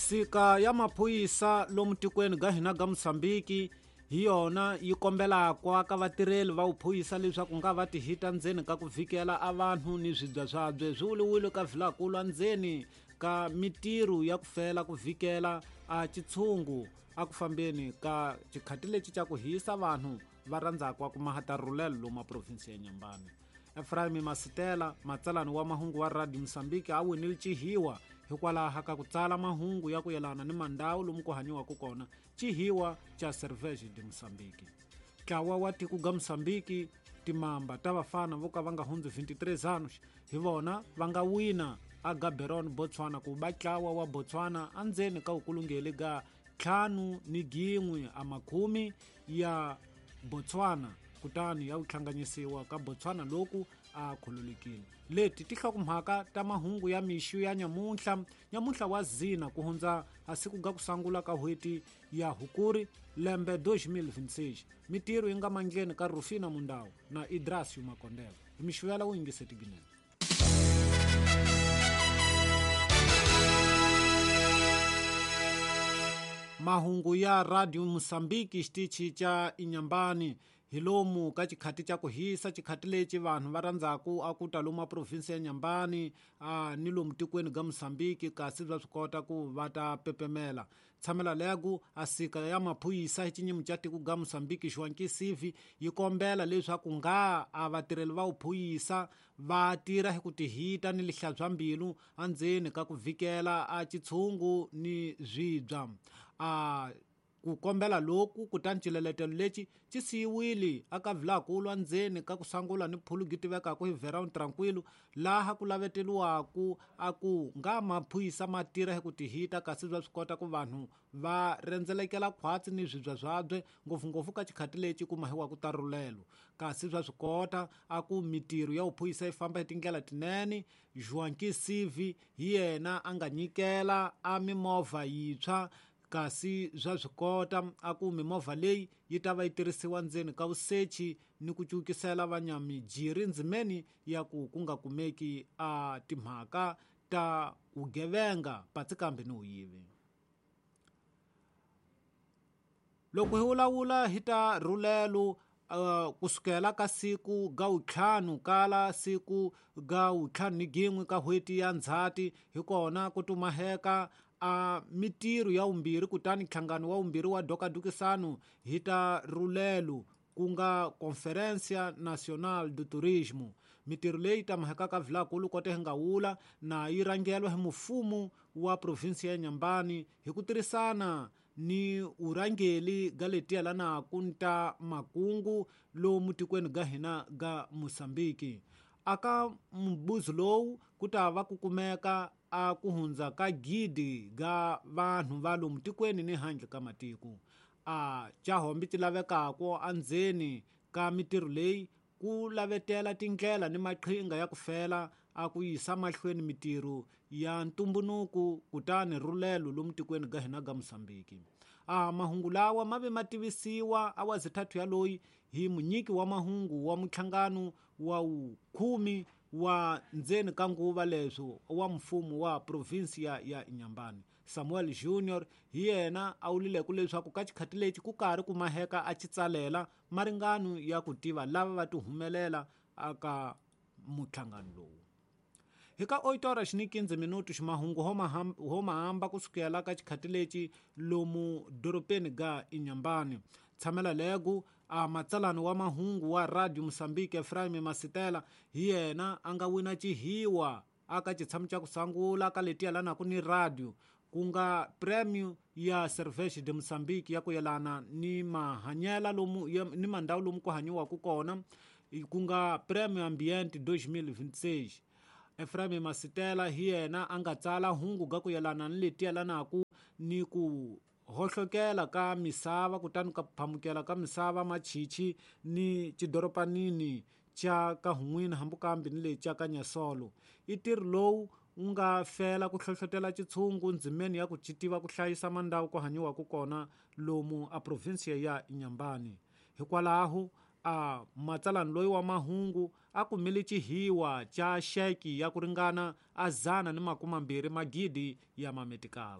Sika ya maphorisa lomu tikweni ga hina ga Mosambiki hi yona yi kombelaka ka vatirheli va vuphorisa leswaku nga va tihita ndzeni ka ku vhikela a vanhu ni swibya swabye swi vuriwile ka vilakulu endzeni ka mitirho ya ku fela ku vhikela a xitshungu a ku fambeni ka xikhati lexi xa ku hisa vanhu va rhandzaka ku maha ta rhulelo lomu provinsi ya Nyambani. Efraim Masitela, matsalani wa mahungu wa Radio Mosambiki, a winile cihiwa hikwalaho ka ku tsala mahungu ya ku yelana ni mandhawu lomu ku hanyiwaka kona, cihiwa xa Cerveja de Mosambiki. Ntlawa wa tiko ga Mosambiki, timamba ta vafana vo ka va nga hundzi 23 anos, hi vona va nga wina a Gaborone, Botswana, ku ba ntlawa wa Botswana endzeni ka vukulungeli ga 5-1 a makhume ya Botswana, kutani ya kuhlanganyisiwa ka Botswana loku a khululekile. Leti ti hlokomhaka ta mahungu ya mixu ya nyamuntlha, nyamuntlha wa zina ku hundza a siku ga ku sangula ka n'hweti ya Hukuri lembe 2026. Mitirho yi nga mandleni ka Rufina Mundau na Idrasio Makondela. Hi mixuvela wu yingise tiginene. Mahungu ya Radio Mosambiki xitichi xa Inyambani hi lomu ka xikhati xa ku hisa, xikhati lexi vanhu va rhandzaku a ku ta lomu provinsi ya Nyambani ni lomu tikweni ga Mosambiki, kasi bya swi kota ku va ta pepemela. Tshamela lego a sika ya maphorisa hi xinyimi xa tiko ga Mosambiki Joaquim Sivi yi kombela leswaku nga a vatirheli va vuphorisa va tirha hi ku tihita ni lihlabya mbilu endzeni ka ku vhikela a xitshungu ni swibya. A ku kombela loku kutani xileletelo lexi xi siyiwile aka vilakulu endzeni ka ku sangula ni phulugi tivekaka hi Verão Tranquilo, laha ku laveteliwaku a ku nga maphorisa ma tirha hi ku tihita, kasi bya swi kota ku vanhu va rhendzelekela khwatsi ni swibya swabye ngopfungopfu ka xikhati lexi ku mahiwaka ta rhulelo, kasi bya swi kota a ku mitirho ya vuphorisa yi famba hi tindlela tinene. Joaquim Sivi hi yena a nga nyikela a mimovha yintshwa, kasi bya swi kota a ku mimovha leyi yi ta va yi tirhisiwa ndzeni ka vusechi ni ku cukisela vanyamijiri ndzimeni ya ku ku nga kumeki a timhaka ta vugevenga patsi kambe ni vuyivi. Loko hi vulavula hi ta rhulelo kusukela ka siku ga wuntlhanu kala siku ga wuntlhanu ni gin'we ka n'hweti ya Ndzhati, hi kona ku tumaheka a mitirho ya vumbirhi, kutani nhlangano wa vumbirhi wa dokadukisano hi ta rhulelo ku nga Conferência Nacional do Turismo. Mitirho leyi tamahekaka vilakulu kote hi nga wula na yi rhangelwa hi mufumo wa provinsi ya Nyambani hi ku tirhisana ni urhangeli ga letiya lanaku nta makungu lomu tikweni ga hina ga Mosambiki. Aka mbuzo lowu ku ta va ku kumeka a ku hundza ka gidi ga vanhu va lomu tikweni ni handle ka matiko. A xahombi ti lavekaka endzeni ka mitirho leyi ku lavetela tindlela ni maqhinga ya ku fela a ku yisa mahlweni mitirho ya ntumbunuku kutani rhulelo lomu tikweni ga hina ga Mosambiki. A mahungu lawa ma ve ma tivisiwa a wazithathu ya loyi hi munyiki wa mahungu wa muhlangano wa wukhume wa ndzeni ka nguva leswo wa mfumo wa provinsi ya Inhambane. Samuel Junior hi yena a wulileke leswaku ka xikhati lexi ku karhi ku maheka a xi tsalela maringano ya ku tiva lava va tihumelela aka muhlangano lowu. Hi ka 8 horas ni 15 minutos mahungu ho mahamba kusukela ka xikhati lexi lomu doropeni ga Inhambane. Tshamela lego a matsalani wa mahungu wa Radio Mosambiki Efraim Masitela hi yena a nga wina cihiwa aka xitshamo xa ku sangula ka letiya lanaku ni radio ku nga Prêmio ya Cerveja de Mosambiki ya ku yelana ni mahanyela lomu ni mandhawu lomu ku hanyiwaka kona, ku nga Prêmio Ambiente 2026. Efraim Masitela hi yena a nga tsala hungu ga ku yelana ni letiya lanaku ni ku hohlokela ka misava kutani ka phamukela ka misava machichi ni xidoropanini xa ka Hun'wini hambukambi ni le xa ka Nyasolo. I ntirho lowu wu nga fela ku hlohlotela xitshungu ndzimeni ya ku xi tiva ku hlayisa mandhawu ku hanyiwaka kona lomu a provinsiya ya Inhambane. Hikwalaho a matsalani loyi wa mahungu a kumile xihiwa xa xeki ya ku ringana a 120 magidi ya mametikal.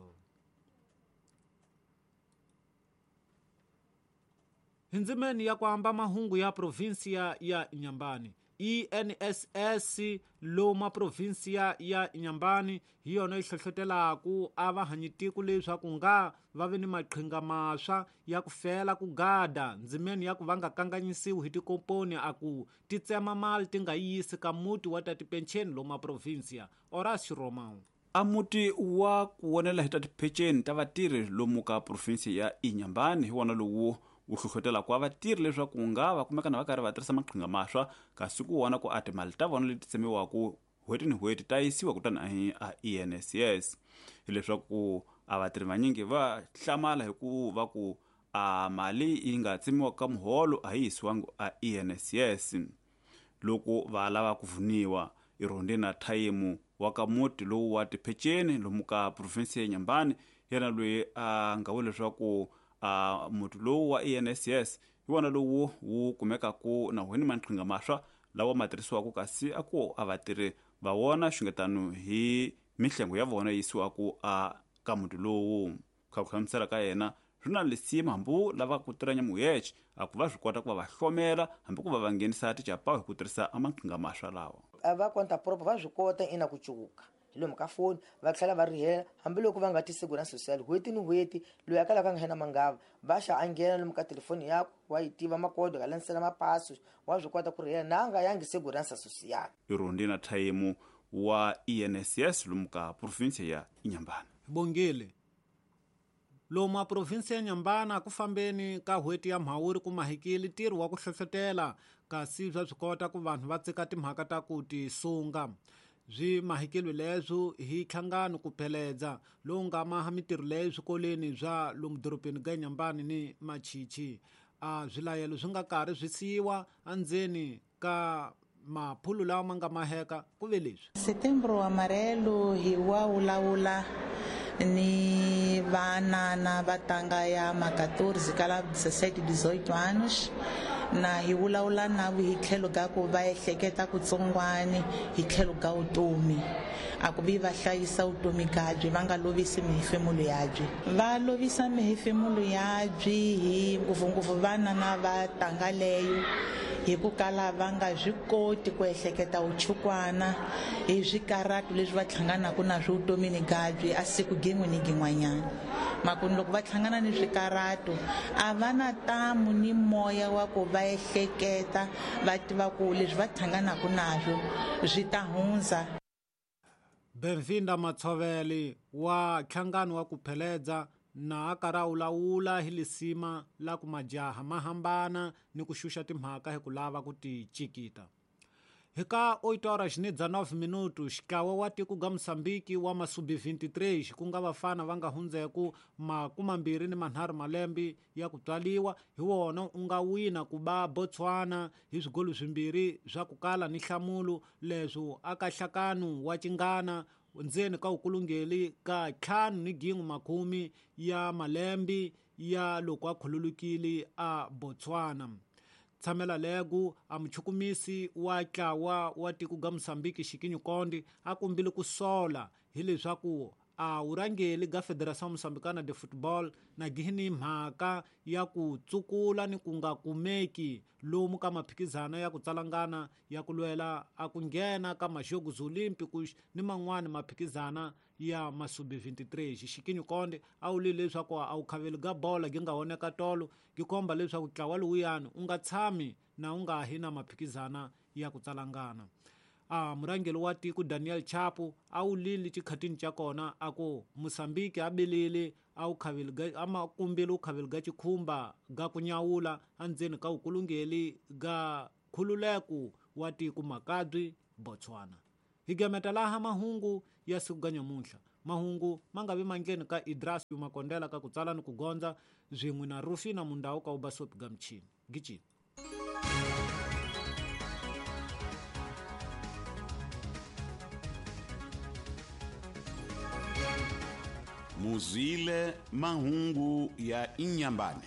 Hindzimeni ya ku amba mahungu ya provinsia ya Inhambane. ENSS loma provinsia ya Inhambane hi yona yi hlohlotelaku a va hanyitiku leswaku nga va ve ni maqhinga maswa ya ku fela ku gada ndzimeni ya ku va nga kanganyisiwi hi tikomponi a ku ti tsema mali ti nga yisi ka muti wa ta tipencheni loma provinsia. Horacio Romão. A muti wa ku vonela hi ta tipheceni ta vatirhi lomu ka provinsia ya Inhambane hi wona lowu wu hlohlotela ku vatirhi leswaku nga va kumeka na va karhi va tirhisa maqhinga maswa kasi ku vona ku a timali ta vona leti tsemiwaku n'hweti ni n'hweti ta yisiwa kutani a ENSS. Hileswaku a vatirhi vanyingi va hlamala hi ku va ku a mali yi nga tsemiwa ka muholo a yi yisiwangi a ENSS loko va lava ku vuniwa. Ironde na Thayemu wa ka muti lowu wa tipheceni lomu ka provinsi ya Inhambane yena loyi a nga vula leswaku a muti lowu wa ENSS hi wona lowu wu kumekaku na wena maqhinga maswa lawa ma tirhisiwaka kasi a ku a vatirhi va wona xungetano hi mihlengo ya vona yisiwaku a ka muti lowu. Kha ku hlamusela ka yena swi na lisima hambi lava ku tirha nyamuyeche a ku va swi kota ku va va hlomela hambi ku va va nghenisa tichapawu hi ku tirhisa amaqhinga maswa lawa. A va konta proper va swi kota ina ku cuka hi lomu ka foni va tlhela va rihela hambiloko va nga ti segurança social n'hweti ni n'hweti loyi a kalaka a nga hena mangava va xa a nghena lomu ka telefoni yakwe wa yi tiva makodo ka landzisela mapaso wa swi kota ku rihela na a nga yangi segurança social. Irondi na Thayemu wa ENSS lomu ka provinsia ya Inhambane. Bongile. Lomu a provinsi ya Inhambane ku fambeni ka n'hweti ya Mhawuri ku mahikile ntirho wa ku hlohlotela kasi bya swi kota ku vanhu va tsika timhaka ta ku tisunga. Byi mahikelo leswo hi nhlangano ku pheledza lowu nga maha mitirho leyi swikolweni bya lomu dorobeni ga Inhambane ni Machichi. A swilayelo swi nga karhi swi siyiwa endzeni ka maphulu lawa ma nga maheka ku ve leswi. Setembro Amarelo hi wa wulawula ni vana na va tanga ya ma 14 kala 17 18 anos na hi wulawula na hi tlhelo ka ku va ehleketa ku tsongwani hi tlhelo ka vutomi a ku vi va hlayisa vutomi byi va nga lovisi mihefemulo yabyi va lovisa mihefemulo yabyi hi ngopfungopfu vana na va tanga leyo hi ku kala va nga swi koti ku ehleketa vuchukwana hi swikaratu leswi va hlanganaka na swo vutomini byi a siku gin'we ni gin'wanyana makuni loko va hlangana ni swikaratu a va na tamu ni moya wa ku va ehleketa va tiva ku leswi va hlanganaka naswo swi ta hundza. Benvinda Matshoveli wa nhlangano wa ku pheledza na a karhi a wulawula hi lisima la ku majaha ma hambana ni ku xuxa timhaka hi ku lava ku ti cikita. Hi ka 8:19 xikawe wa tiko ga Mozambique wa masubi 23 ku nga vafana va nga hundzeku 23 malembe ya ku tswaliwa hi wona u nga wina ku ba Botswana hi swigolo swimbirhi swa ku kala ni nhlamulo leswo aka nhlakano wa cingana ndzeni ka ukulungeli ka 5.1 ya malembe ya loko a khululukile a Botswana. Tshamela legu a muchukumisi wa ntlawa wa tiko ga Mozambique Xikinyo Konde a kumbile ku sola hileswaku a wurangeli ga Federação Moçambicana de Futebol na gihini mhaka ya ku tsukula ni ku nga kumeki lomu ka maphikizana ya ku tsalangana ya ku lwela a ku nghena ka Majogos Olímpicos ni man'wani maphikizana ya masubi 23. Xikinyo Konde a wulile leswaku a wu khaveli ga bola gi nga oneka tolo gi komba leswaku ntlawa lowuyani u nga tshami na u nga hi na maphikizana ya ku tsalangana. A murangeli wa tiko Daniel Chapo a wulile xikhatini xa kona a ku Mozambique a bilile a wu khaveli ga a makumbile u khaveli ga xikhumba ga ku nyawula endzeni ka wukulungeli ga khululeko wa tiko Makadwi Botswana. Hi gameta laha mahungu ya siku ga nyamuntlha. Mahungu ma nga vi mandleni ka Idras Makondela ka ku tsala ni ku gondza swin'we na Rufina Mundau ka ubasopi ga mchini. Gichini. Muzwile mahungu ya Inhambane.